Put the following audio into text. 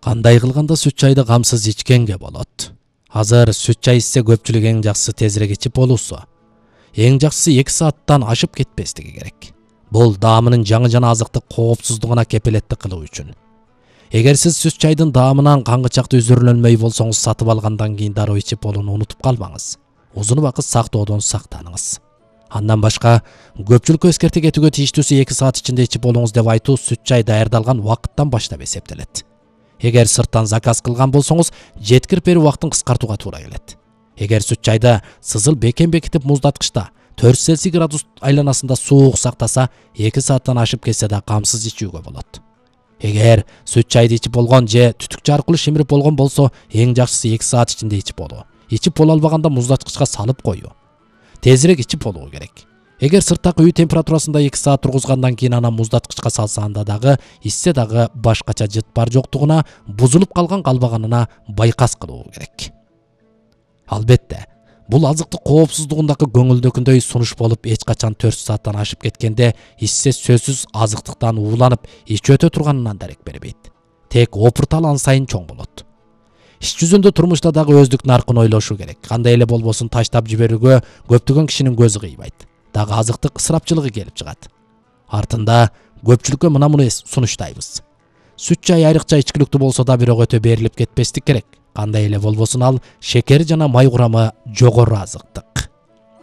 Кандай кылганда сүт чайды камсыз ичкенге болот? Азыр сүт чай ичсе көпчүлүк эң жакшысы тезирээк ичип болуусу. Эң жакшысы 2 сааттан ашып кетпестиги керек. Бул даамынын жаңы жана азыктык коопсуздугуна кепилеттик кылуу үчүн. Эгер сиз сүт чайдын даамынан каңгычакты үзүрүлөнмөй болсоңуз, сатып алгандан кийин дароо ичип болууну унутуп калмаңыз. Узун убакыт сактоодон сактаныңыз. Андан башка, көпчүлүккө эскерте кетүүгө тийиштүүсү 2 саат ичинде ичип болуңуз деп айтуу сүт чай даярдалган убакыттан баштап эсептелет. Эгер сырттан заказ кылган болсоңуз, жеткирип берүү убактын кыскартууга туура келет. Эгер сүт чайда сызыл бекем бекитип муздаткычта 4 Цельсий градус айланасында суук сактаса, 2 сааттан ашып кетсе да камсыз ичүүгө болот. Эгер сүт чайды ичип болгон же түтүкчө аркылуу шимирип болгон болсо, эң жакшысы 2 саат ичинде ичип болуу. Ичип боло албаганда муздаткычка салып коюу. Тезирээк ичип болуу керек. Эгер сырттагы үй температурасында 2 саат тургузгандан кийин анан муздаткычка салсаанда дагы, ичсе дагы башкача жыт бар жоктугуна, бузулуп калганына байкас кылуу керек. Албетте, бул азыктык коопсуздугундагы көңүлдөгүндөй сунуш болуп, эч качан 4 сааттан ашып кеткенде ичсе сөзсүз азыктыктан ууланып, ичи өтө турганынан дарек бербейт. Тек опурталан сайын чоң болот. Иш жүзүндө турмушта дагы өздүк наркын ойлошу керек. Кандай эле болбосун таштап жиберүүгө көптөгөн кишинин көзү кыйбайт. Дагы азыктык ысырапчылыгы келип чыгат. Артында көпчүлүккө муну сунуштайбыз. Сүт чай айрыкча ичкиликтүү болсо да бирок өтө берилип кетпестик керек. Кандай эле болбосун ал шекери жана май курамы жогору азыктык.